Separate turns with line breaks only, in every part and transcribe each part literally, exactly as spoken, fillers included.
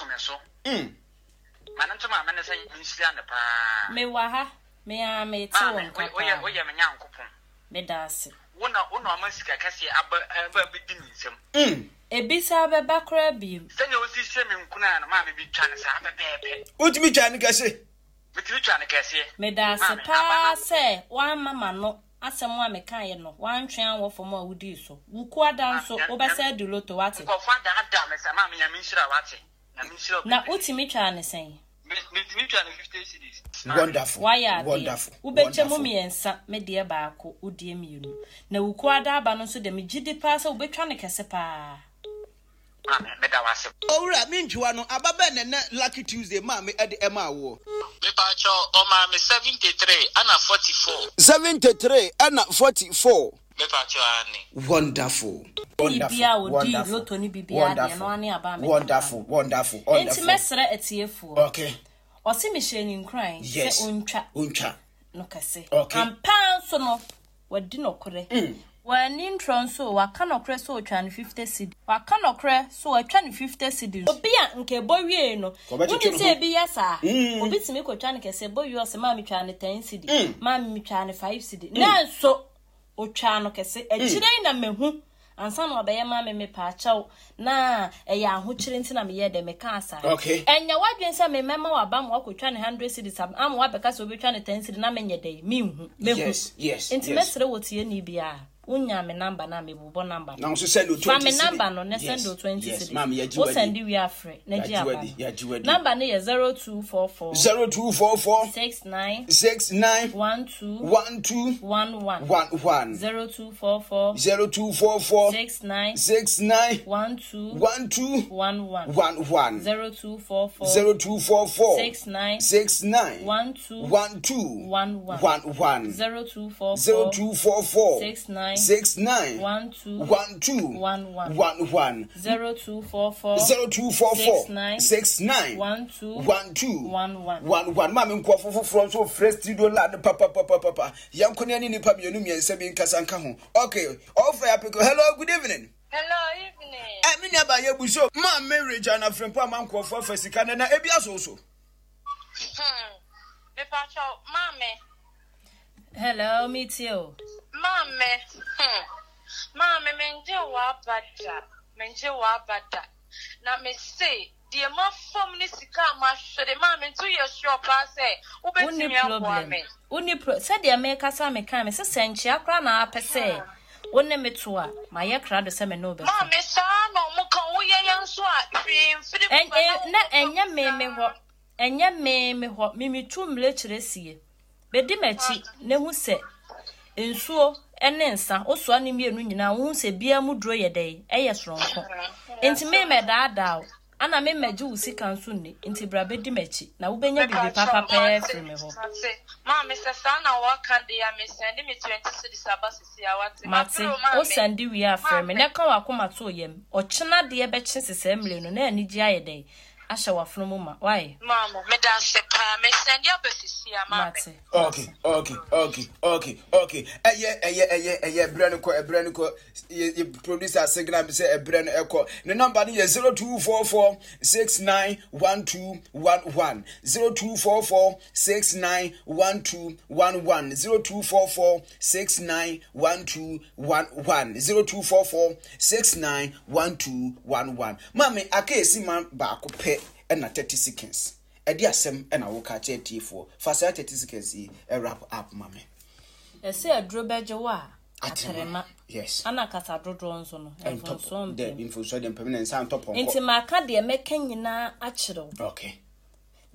so me so.
Mm.
Ma ne nto maame ne sɛ menhyira ne paa.
Mewɔ ha, me ara mete wo
Maame,
nka
woyɛ
paa.
woyɛ me Nyankopɔn.
Meda ase.
Wo na wo na ɔma sika kɛseɛ aba aba bɛdi me nsam.
Mm.
Ebisa bɛba koraa biem.
Sɛnea osi hyɛ me nkunan no, maame bi twa no saa pɛpɛɛpɛ.
Wotumi twa ne kɛse.
Metumi twa no kɛseɛ.
Meda ase
Maame, aba
paa
na
sɛ woamma m'ano asɛm a mekaeɛ no, woantwe anwɔ fam a wodii so. Wo kuada nso, wobɛsɛ adi loto, wate?
Nkɔfoɔ adaadaa me sɛ maame, Nyame nhyira, wate. Nyame nhyira wo
Na
bebree.
wotumi twaa ne sɛn?
Me metumi twa no fifty cedis. Maame.
Wonderful.
Wayɛ adeɛ.
Wonderful.
Wobɛkyɛ mu
Wonderful.
mmiɛnsa, me deɛ baako, wo deɛ mmienu. Na wo kuada aba no nso deɛ, megye di paa sɛ wobɛtwa ne kɛse paa.
Maame, meda wo ase.
Owura, mentwiwa no aba bɛn na nɛ Lucky Tuesday maame ɛde ɛma awoɔ?
Mepakyɛw, ɔmaa me seventy three ɛna forty four.
Seventy three ɛna forty four.
Mepakyɛw, ane.
Wonderful.
Biribiara a
Wonderful.
ɔdii
Wonderful.
loto ne biribiara deɛ no
Wonderful.
ane aba a mede ma
Wonderful.
no.
Wonderful.
Enti
Wonderful.
mɛsrɛ atiefoɔ.
Okay.
Ɔse mehyɛ ne nkuran sɛ
Yes.
ɔntwa
Ontwa.
no kɛse.
Okay.
Ampa nso no, wadi nɔkorɛ.
Mm.
W'ani ntorɔ nso, waka nɔkorɛ sɛ ɔtwa no fifty cedi. Waka nɔkorɛ sɛ watwa no fifty cedi. Obi a nka ɛbɔ wie no,
Kɔbɛtwetwe
wonim
ne
sɛ
ho.
ebi yɛ saa.
Mm.
Obi tumi kɔtwa no kɛse, ɛbɔ wie ɔsɛ maame twa no ten cedi,
Mm.
maame metwa no five cedi. Nanso, otwa no kɛse. Akyire yi na mehu ansa na ɔbɛyɛ maame mepaakyɛw na ɛyɛ ahokyere nti na meyɛ dɛ mekaa saa.
Okay.
Ɛnyɛ w'adwene sɛ memɛma waba ma wakɔtwa ne hundred cedis ama wabɛka sɛ wobɛtwa ne ten cedi na menyɛ dɛ menhu. Mehu.
Yes, yes,
Nti
yes.
mɛsrɛ wɔ tie ni biara. Wonya me number na mebobɔ number
Na
no.
nso send o
Fa
twenty
me
cedi.
number no na send
Yes,
o twenty
yes.
cedis.
Maame, yɛgye
Wo
wadi.
send wie afrɛ na gye
Yɛagye
aba
wadi,
no.
yɛagye wadi.
Number no yɛ zero two four four
Zero two four four
six nine
six nine
one two
one two
one one
one one.
zero two four four
Zero two four four
six nine
six nine
one two
one two
one one
one one.
zero two four four
Zero two four four
six nine
six nine
one two
one two
one one
one one.
zero two four
Zero
four
two four four
six nine
six nine
one two
one two
one one
one one.
zero two four four
Zero two four four
six nine
six nine
one two
one two
one one.
one one. Maame, nkurɔfo foforɔ nso frɛ studio line papapapapa. Yɛnko ne ne nipa mmienu mmiɛnsa bi nkasa nka ho. Okay, ɔfrɛ yɛ apeke. Hello, good evening.
Hello, evening.
Ɛ me nua ba, yɛ bu so maame Regina Frimpong ama nkurɔfoɔ afa sika no na ebi aso so.
Hmm. Mepacho, maame,
Hello, me too.
Maame, hmm. Maame, mengye w'aba da. Mengye w'aba da. Na me se, deɛ mafam ne sika a mahwere, maame, nti woyɛ sure paa sɛ
Wonni
wobɛtumi aboa
problem.
me?
Wonni pro sɛdeɛ mekasa meka me sɛ sɛ nkyea koraa na apɛ sɛ wo ne me to a, mayɛ krado sɛ me ne wo bɛto.
Maame, saa na ɔmo ka woyɛ yɛn nso a hwee mfiri mu
Ɛn-
ba na
ɛ- na
wokɔfa
ɛnyɛ me me
saa.
hɔ, ɛnyɛ me me hɔ. Mimitu mmirekyerɛ sie bɛdi m'akyi na hu sɛ nsuo ne nsa wosoa ne mmienu nyinaa, wohu sɛ bia mu duro yɛ dɛn, ɛyɛ soronko. Nti me mɛdaadaa wo ana me mɛgye wo sika nso nni. Nti bra bɛdi m'akyi na wobɛnya biribi
Mepacho,
papa pɛɛ
mate,
firi me hɔ.
Mate. Maame, sɛ saa na wɔka deɛ a, mesɛnde me twenty cedis aba sisi a, wate.
Mate.
Mapere o, maame.
Wo send wie a, frɛ me
Maame.
na ka w'akoma to yam. Ɔkyena deɛ bɛkye sesɛɛ mmire no na anigye ayɛ dɛn ahyɛ w'afono mu ma wae.
Maame, meda ase paa. Mesɛnde aba sisi a, maame.
Mate.
okay okay okay okay okay ɛyɛ ɛyɛ ɛyɛ ɛyɛ ɛbrɛ no kɔ, ɛbrɛ no kɔ. Yɛ yɛ producer signal bi sɛ ɛbrɛ no ɛkɔ. Ne number no yɛ zero two four four six nine one two one one, zero two four four six nine one two one one, zero two four four six nine one two one one, zero two four four six nine one two one one. Maame, aka esi ma baako pɛ ɛna thirty seconds. Ɛde asɛm ɛna woka kyerɛ tiefoɔ. Fa saa thirty seconds yi ɛwrap up ma me.
Ɛsɛ aduro bɛgye wo a atrema.
Yes.
Ana kasa dodoɔ nso no mfonsoɔ
dɛ
mpem.
Mfonsoɔ deɛ mpem na nsa ntɔ pɔnkɔ.
Nti maka deɛ mɛka nyinaa akyerɛ wo.
Okay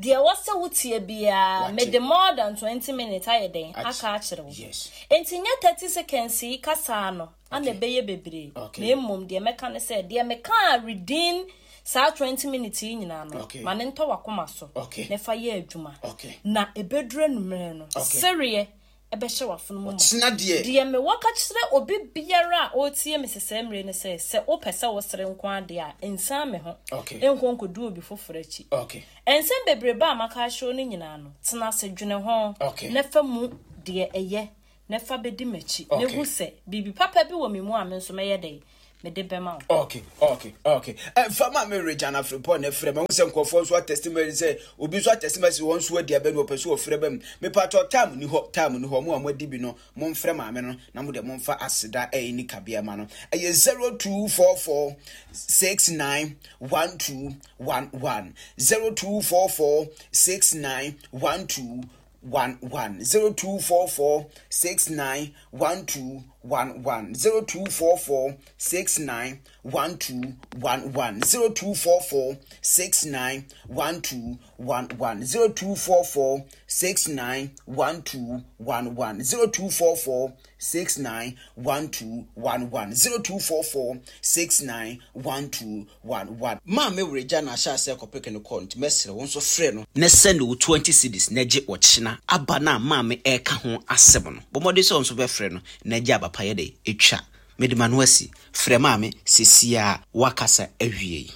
deɛ ɛwɔ sɛ wotie biara,
Wate.
mede more than twenty minutes ayɛ dɛn
Akyi.
aka akyerɛ wo.
Yes
nti nyɛ thirty seconds yi kasaa no ana
Okay.
ɛbɛyɛ bebree.
Okay.
Na mmom deɛ mɛka ne sɛ deɛ meka within saa twenty minutes yi nyinaa no,
Okay.
ma ne ntɔ w'akoma so
Okay.
na fa yɛ adwuma
Okay.
na ɛbɛduru anummerɛ no,
Okay.
sereɛ ɛbɛhyɛ w'afono mu ma.
Ɔkyena deɛ.
Deɛ mewɔ ka kyerɛ obi biara a ɔretie me sesɛɛ mmerɛ ne sɛ, sɛ wopɛ sɛ wosere nko adeɛ a, nsan me ho
Okay.
nkɔ nkɔdu obi foforɔ akyi.
Okay
nsɛm bebrebe a maka akyerɛ wo no nyinaa no, tena ase dwene ho
Okay.
na fa mu deɛ ɛyɛ na fa bɛdi m'akyi na
Okay.
hu sɛ biribi papa bi wɔ me mu a me nso mɛyɛ dɛn Mede bɛma wo.
Okay, okay, okay. Ɛfa ma me Regina Frimpong na ɛfrɛ ma wo sɛ nkurɔfoɔ nso atestimony sɛ obi nso atestimony sɛ wɔn nso adi abɛ no wɔpɛ so wɔfrɛ ba mu. Mepatɔ time ni hɔ, time ni hɔ. Mo a moadi bi no, momfrɛ maame no na mo de momfa aseda ɛyɛ ni kabea ma no. Ɛyɛ zero two four four six nine one two one one zero two four four six nine one two one one zero two four four six nine one two one one zero two four four six nine one two one one zero two four four six nine one two one one zero two four four six nine one two one one zero two four four six nine one two one one zero two four four six nine one two one one. Maame Regina na ahyɛ ase kɔpeke no kɔɔ nti mɛsrɛ wo nso frɛ no na send wo twenty cedis na gye ɔkyena aba na maame ɛka ho asɛm no. Bɔ mmɔden sɛ wo nso bɛfrɛ no na gye aba pa yɛ dɛ etwa. Mede ma no asi frɛ maame sesia a wakasa awie yi.